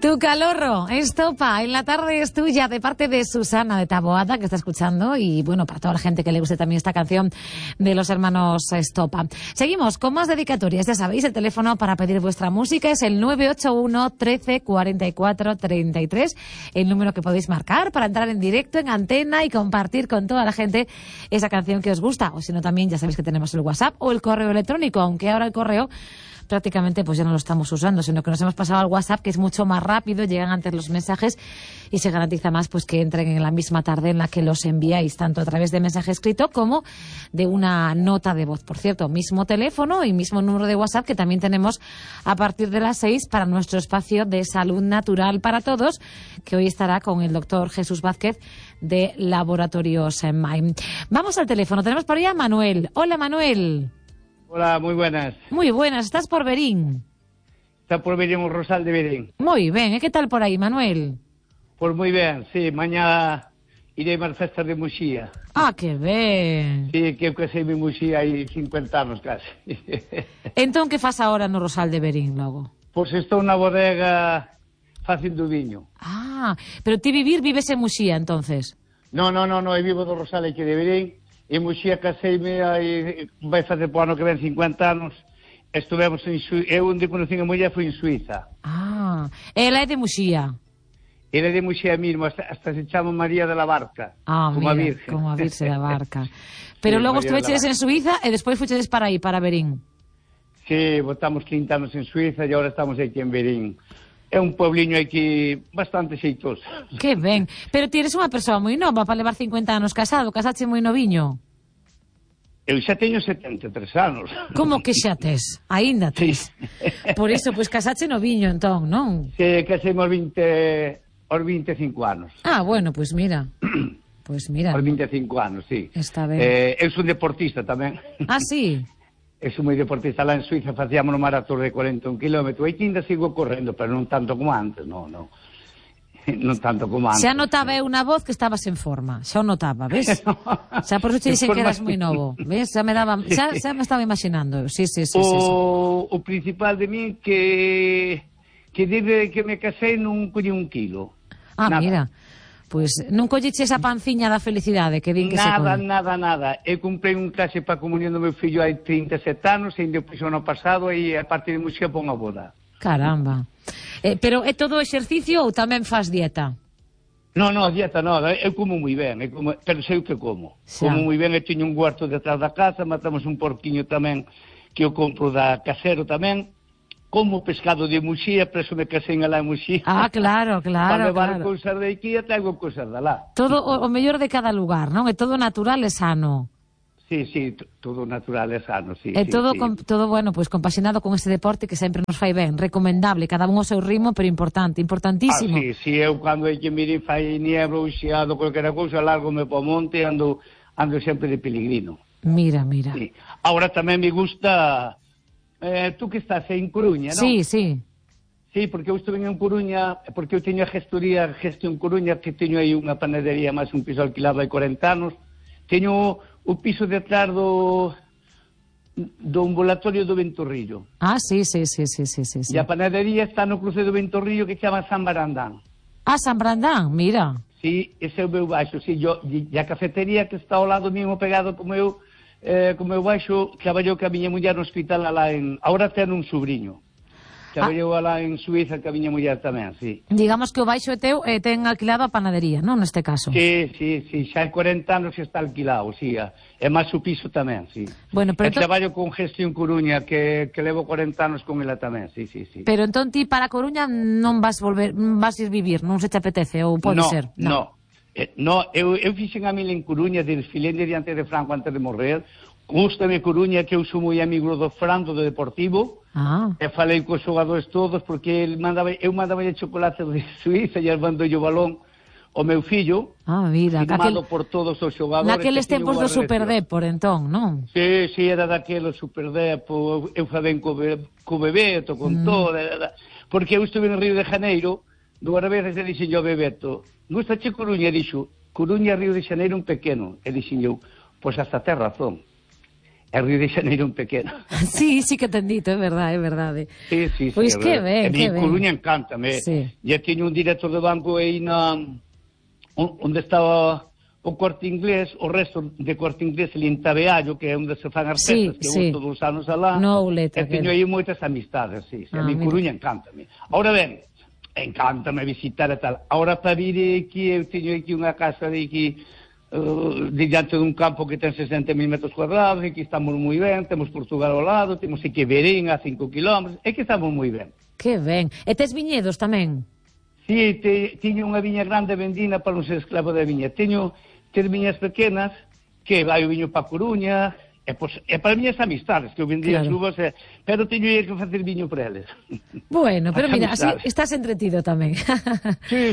Tu calorro, estopa, en la tarde es tuya, de parte de Susana de Taboada, que está escuchando, y bueno, para toda la gente que le guste también esta canción de los hermanos Estopa. Seguimos con más dedicatorias, ya sabéis, el teléfono para pedir vuestra música es el 981 13 44 33, el número que podéis marcar para entrar en directo, en antena y compartir con toda la gente esa canción que os gusta, o si no también ya sabéis que tenemos el WhatsApp o el correo electrónico, aunque ahora el correo prácticamente pues ya no lo estamos usando, sino que nos hemos pasado al WhatsApp, que es mucho más rápido, llegan antes los mensajes y se garantiza más pues que entren en la misma tarde en la que los enviáis, tanto a través de mensaje escrito como de una nota de voz. Por cierto, mismo teléfono y mismo número de WhatsApp que también tenemos a partir de las 6 para nuestro espacio de salud natural para todos, que hoy estará con el doctor Jesús Vázquez de Laboratorios Maim. Vamos al teléfono, tenemos por ahí a Manuel. Hola, Manuel. Hola, muy buenas. Muy buenas, estás por Verín. Está por Verín, o Rosal de Verín. Muy bien, ¿qué tal por aí, Manuel? Pues moi ben, sí, mañá irei máis festas de Muxía. Ah, que ben. Sí, que eu caseime en Muxía hai 50 anos casi. Entón, que faz agora no Rosal de Verín, logo? Pois estou na bodega facendo viño. Ah, pero ti vives en Muxía, entonces? No, eu vivo do Rosal aquí de Verín. En Muxía caseime aí, vai fazer po ano que ven 50 anos. Estivemos en Suíza, eu onde conocín a muller foi en Suíza. Ah, ela é de Muxía. Ela é de Muxía mesmo, hasta se chama María de la Barca. Ah, como mira, a Virgen. como a Virxe da Barca. Pero Sí, logo María de la estuvechedes en Suíza e despois fuchedes para aí, para Verín. Sí, botamos 30 anos en Suíza e agora estamos aquí en Verín. É un puebliño aquí bastante xeitoso. Que ben. Pero ti eres unha persoa moi nova para levar 50 anos casado, casache moi noviño. Eu xa teño 73 anos. Como que xa tes? Aínda tes. Sí. Por iso, pois casache noviño, entón, non? Que casemos aos 25 anos. Ah, bueno, pois mira. Pois mira. Aos 25 anos, sí. Está ben. Eu son deportista tamén. Ah, sí? Eu son moi deportista. Lá en Suiza facíamos un maratón de 41 km. Aí ainda sigo correndo, pero non tanto como antes, non. Non tanto como antes. Xa notaba eu na voz que estabas en forma. Xa o notaba, ves? Xa por eso te dixen que eras moi novo. Ves? Xa me me estaba imaginando. Sí. O principal de mí que desde que me casei non collí un kilo. Ah, nada. mira. Pois non colliche esa panciña da felicidade que din que se colle. Nada. Eu comprei un clase para comunión do meu fillo hai 37 anos e ainda puxo ano pasado e a parte de Muxía pon a boda. Caramba. Pero é todo exercicio ou tamén fas dieta? No, dieta nada, eu como moi ben, pero sei o que como. Xa. Como moi ben, eu teño un huerto detrás da casa, matamos un porquiño tamén que eu compro da casero tamén. Como pescado de Muxía, por eso me casei alá en Muxía. Ah, claro. Para levar cousas de aquí e traigo cousas de lá. Todo o mellor de cada lugar, non? É todo natural e sano. Sí, todo natural e sano, sí. E todo, sí. todo bueno, pues compaxinado con este deporte que sempre nos fai ben, recomendable, cada un ao seu ritmo, pero importantísimo. Sí, eu cando hai que mirar fai niebla ou xeado, qualquera cousa, largo-me po monte e ando sempre de pelegrino. Mira. Sí. Ahora tamén me gusta, tú que estás en Coruña, non? Sí. Sí, porque eu estuve en Coruña, porque eu teño a Gestión Coruña, que teño aí unha panadería máis un piso alquilado hai 40 anos, teño o piso detrás do ambulatorio do Ventorrillo. Ah, sí. E a panadería está no cruce do Ventorrillo que se chama San Barandán. Ah, San Brandán, mira. Sí, ese é o meu baixo, sí, e a cafetería que está ao lado mesmo pegado como eu baixo, traballou que a miña muller no hospital alá ahora ten un sobrinho. Traballou alá en Suíza que a miña muller tamén, sí. Digamos que o baixo é teu e ten alquilado a panadería, non, neste caso? Sí, xa hai 40 anos que está alquilado, sí, é máis o piso tamén, sí. Bueno, pero traballo con Gestión Coruña, que levo 40 anos con ela tamén, sí. Pero entón ti para Coruña non vas ir vivir, non se te apetece, ou pode ser? No, eu fixen a mil en Coruña, desfilei diante de Franco antes de morrer. Gústame Coruña, que eu sou moi amigo do Fran, do Deportivo. E falei cos xogadores todos, porque eu mandaba chocolate de Suíza e mandou o balón ao meu fillo, firmado por todos os xogadores. Naqueles tempos do Superdepor, entón, non? Sí, era daqueles Superdepor, eu falei co Bebeto, con todo, porque eu estuve en Río de Janeiro, 2 veces e dixen yo Bebeto, gustache Coruña? E dixo, Coruña, Río de Janeiro un pequeno. E dixen eu, pois hasta ten razón. Río de Xaneiro un pequeno. Sí, sí que ten dito, é verdade. Sí. Pois que ben, que ben. Coruña encántame. Sí. Ya tiño un director de banco aí onde estaba o Corte Inglés, o resto de Corte Inglés ali en Tabeallo, que é onde se fan as festas, que eu todos os anos alá. No Ouleta. E teño aí moitas amistades, sí. A mi Coruña encántame. Ahora ben, encántame visitar e tal. Ahora para vir aquí, eu teño aquí unha casa de aquí, diante dun campo que ten 60.000 metros cuadrados, e que estamos moi ben, temos Portugal ao lado, temos aquí Verín a 5 kilómetros, e que estamos moi ben. Que ben. E tes viñedos tamén? Sí, tiño unha viña grande vendina para non ser esclavo da viña. Teño 3 viñas pequenas, que vai o viño para Coruña, e para miñas amistades, que eu vendía as uvas, pero teño que facer viño para eles. Bueno, pero mira, así estás entretido tamén. Sí.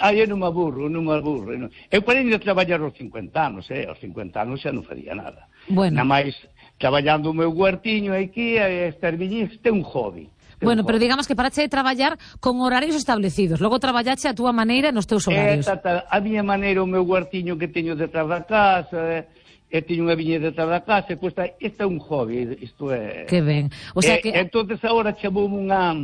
Aí non me aburro. Eu parei de traballar aos 50 anos, aos 50 anos xa non faría nada. Bueno. Nada máis, traballando o meu huertiño aquí, estas viñas, é un hobby. Bueno, pero digamos que parache de traballar con horarios establecidos, logo traballache a túa maneira nos teus horarios. A miña maneira, o meu huertiño que teño detrás da casa, teño unha viña detrás da casa, isto é un hobby, isto é... Que ben. O sea que... Entonces agora chamoume unha...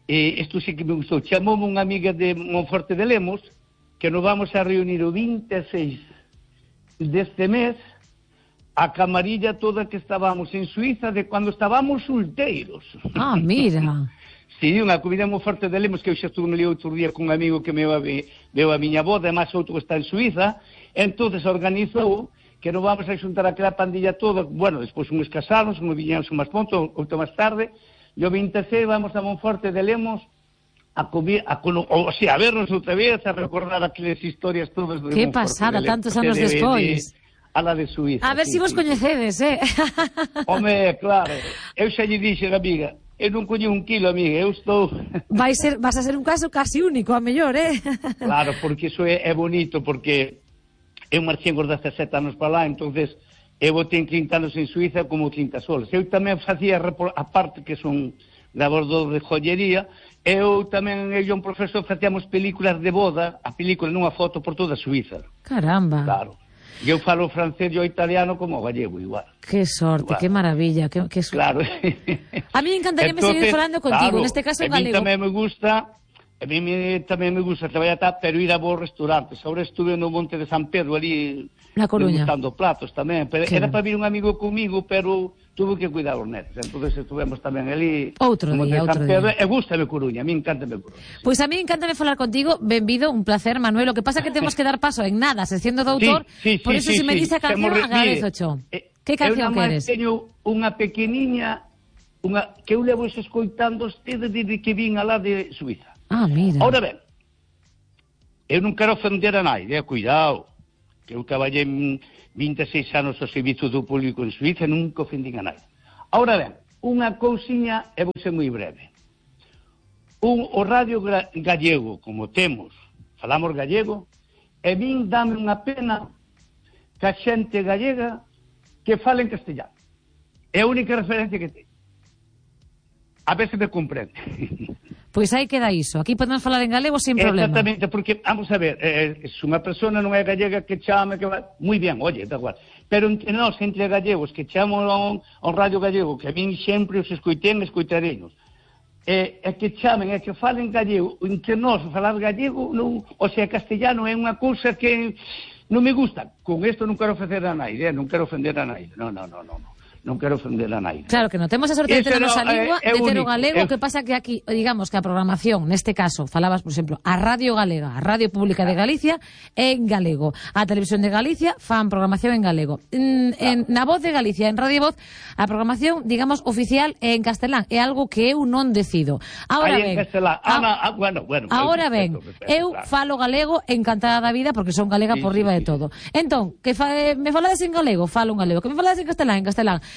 Isto sí que me gustou, chamoume unha amiga de Monforte de Lemos, que nos vamos a reunir o 26 deste mes, a camarilla toda que estábamos en Suiza de cando estábamos solteiros. Ah, mira. Sí, unha comida moi forte de Lemos, que eu xa estuve ali outro día con un amigo que veo a miña boda, e máis outro que está en Suiza, entonces organizou que nos vamos a xuntar aquela pandilla toda, bueno, despois uns casaron, uns viñamos máis pronto, outro máis tarde, e o 26 vamos a Monforte de Lemos a vernos outra vez, a recordar aquelas historias todas de que Monforte pasada, de Lemos, tantos anos despois. A la de Suiza. A ver se vos coñecedes, Home, claro, eu xa lle dixen, amiga, eu non coño 1 kilo, amiga, eu estou... Vas a ser un caso casi único, a mellor, Claro, porque iso é bonito, porque eu marchei con 17 anos para lá, entonces eu tenho 30 anos en Suiza como 30 soles. Eu tamén facía, a parte que son grabador de joyería, eu tamén, eu e un profesor facíamos películas de boda, a película nunha foto por toda Suiza. Caramba. Claro. Eu falo francés e o italiano como o gallego, igual. Que sorte, que maravilla. Que claro. A mí encantaría seguir falando contigo, claro, neste caso en galego. A mí tamén me gusta traballar, pero ir a bons restaurantes. Ahora estuve no Monte de San Pedro, ali, na Coruña, degustando platos tamén. Pero era para vir un amigo comigo, pero tuve que cuidar os netos. Entonces estuvemos tamén ali outro día. E gústame Coruña, a mí encántame Coruña. Pois a mí encántame falar contigo, benvido, un placer, Manuel. O que pasa é que temos que dar paso en nada, sección do doutor, por eso se me dice a canción, agradezo cho. Que canción queres? Eu teño unha pequeniña, que eu levo escoitando desde que vin alá de Suiza. Ah, mira. Ahora ben, eu non quero ofender a naide, cuidado, que eu traballei 26 anos ao servizo do público en Suiza e nunca ofendín a naide. Ahora ben, unha cousiña, e vou ser moi breve. O radio gallego, como temos, falamos gallego, e min dame unha pena que a xente gallega que fala en castellano. É a única referencia que ten. A ver se me comprende. Pois aí queda iso. Aquí podemos falar en galego sin problema. Exactamente, porque, vamos a ver, se unha persona non é gallega que chame, moi ben, oye, da igual. Pero entre nós, entre gallegos, que chamo ao radio gallego, que a min sempre os escoitareinos, e que chamen, e que falen gallego, entre nós, falar gallego, non, o sea, castellano é unha cousa que non me gusta. Con isto non quero ofender a naide, non quero ofender a naide, non quero ofender a naide. Claro que non temos a sorte de ter a nosa lingua, de ter o galego, que pasa que aquí, digamos que a programación, neste caso, falabas, por exemplo, a Radio Galega, a Radio Pública de Galicia, é en galego. A Televisión de Galicia fan programación en galego. Na Voz de Galicia, en Radio Voz, a programación, digamos, oficial é en castelán. É algo que eu non decido. Ahora ben, ahora ben, eu falo galego encantada da vida, porque son galega por riba de todo. Entón, que me falades en galego, falo en galego. Que me falades en castelán.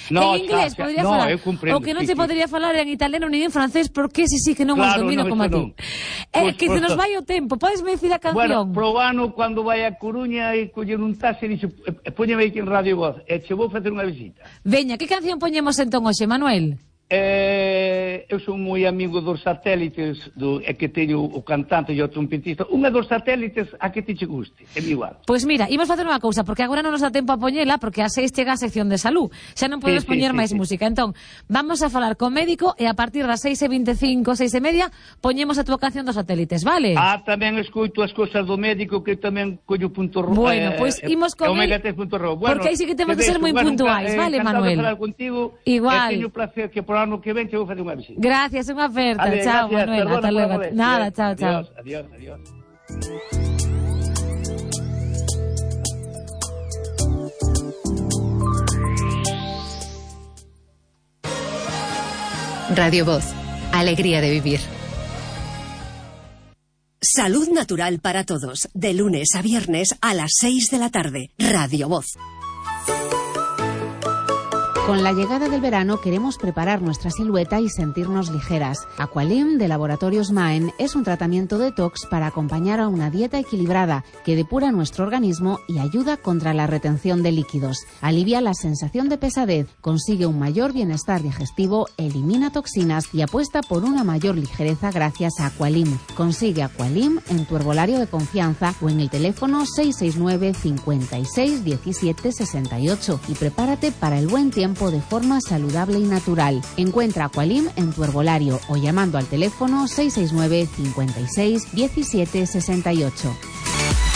No, en inglés podría falar, o que non se podría falar en italiano nin en francés, porque sí que non os domino como a ti. Que se nos vai o tempo, podes me dicir a canción? Bueno, probano cando vai a Coruña e coller un taxi e dixe, póñeme aquí en Radio Voz, e che vou facer unha visita. Veña, que canción poñemos entón hoxe, Manuel? eu sou moi amigo dos satélites, que teño o cantante e o trompetista. Unha dos satélites a que te guste, é igual. Pois mira, imos facer unha cousa, porque agora non nos dá tempo a poñela, porque a 6 chega a sección de salud. Xa non podes poñer máis música. Entón, vamos a falar co médico e a partir das 6:25, 6:30, poñemos a tua canción dos satélites, vale? Tamén escoito as cousas do médico, que tamén collo punto rojo. Bueno, pois imos con Omega 3.ro. Porque aí sí que temos que ser moi puntuais, vale, Manuel? Contigo, igual. Teño placer que por ano que ven te vou facer unha visita. Gracias, unha oferta. Vale, chao, gracias, Manuel. Hasta luego. Nada, chao, chao. Adiós, adiós. Radio Voz. Alegría de vivir. Salud natural para todos. De lunes a viernes a las 6 de la tarde. Radio Voz. Con la llegada del verano queremos preparar nuestra silueta y sentirnos ligeras. Aqualim de Laboratorios Maen es un tratamiento detox para acompañar a una dieta equilibrada que depura nuestro organismo y ayuda contra la retención de líquidos. Alivia la sensación de pesadez, consigue un mayor bienestar digestivo, elimina toxinas y apuesta por una mayor ligereza gracias a Aqualim. Consigue Aqualim en tu herbolario de confianza o en el teléfono 669 56 17 68 y prepárate para el buen tiempo de forma saludable y natural. Encuentra Aqualim en tu herbolario o llamando al teléfono 669 56 17 68.